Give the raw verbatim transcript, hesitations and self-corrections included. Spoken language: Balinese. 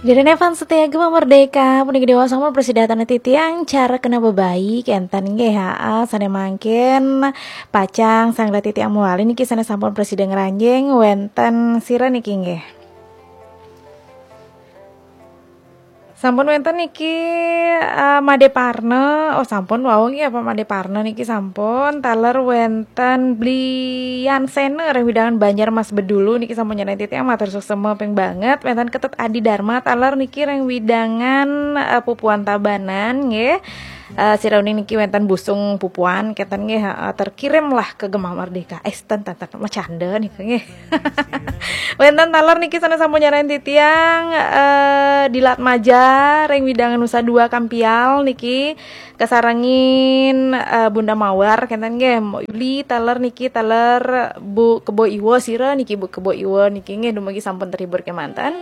Jadi, nevan setia Gema Merdeka, puniki dewa sampun prasida titiang cara kena bebayi kenten nggih, haa, sane mangkin pacang sang titiang mawali niki sane sampun prasida ngranjing wenten sira niki nggih. Sampun wenten niki, eh, Made Parna. Oh, sampun wau nggih apa Made Parna niki sampun. Taler wenten Blian Sena ring widangan Banjar Mas Bedulu niki sampun nyarengin titiang, matur suksma ping banget. Wenten Ketut Adi Dharma taler niki ring widangan, eh, Pupuan Tabanan nggih. Eh, sira uning niki wenten busung pupuan kenten nggih, eh, terkirim lah ke Gema Merdeka. Eh, ten, ten, ten, macanda niki nggih. Wenten taler niki sane sampun nyarengin titiang, eh, Dilat Maja ring widangan Nusa Dua Kampial niki kasarengin, eh, Bunda Mawar kenten nggih. Mbok Yuli taler niki taler Bu Kebo Iwa sira niki Bu Kebo Iwa niki nggih dumugi sampun terhibur kemanten.